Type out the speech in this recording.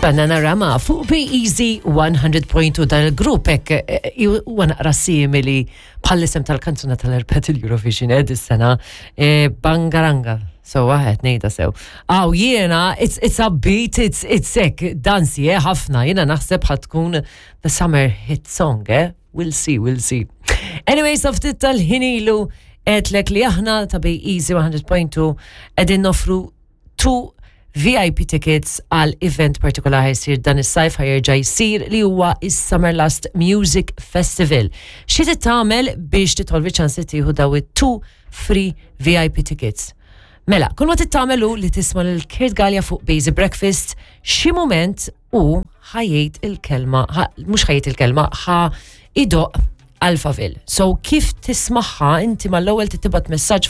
Bananarama fuq Be Easy 100.2. Dan il-grupp hekk huwa naqra simili bħall-isem tal-kanzuna tal-Erpet il-Eurovision dis-sena, Bangaranga. So waħed ngħidha sew. Aw jiena it's upbeat, it's hekk dansi ħafna. Jiena naħseb ħa tkun the summer hit song, eh? We'll see, we'll see. Anyway, sa ftit tal-ħin ilu għedtlek li aħna ta' Be Easy 100.2 qegħdin noffru two VIP tickets għal event partikolari jsir dan is-sajf, ħa jerġa' jsir, li huwa is-Summerlust Music Festival. Xi trid tagħmel biex tidħol fiċ-ċans li tieħu daw it-two free VIP tickets? Mela, kull ma trid tagħmel hu li tisma' lil Kurt Galea fuq Busy Breakfast. Xi mument u ħa jgħid il-kelma, mhux ħa jgħid il-kelma, ħa jdoqq Alphaville. So kif tismagħha inti mal-ewwel tibgħat messaġġ fuq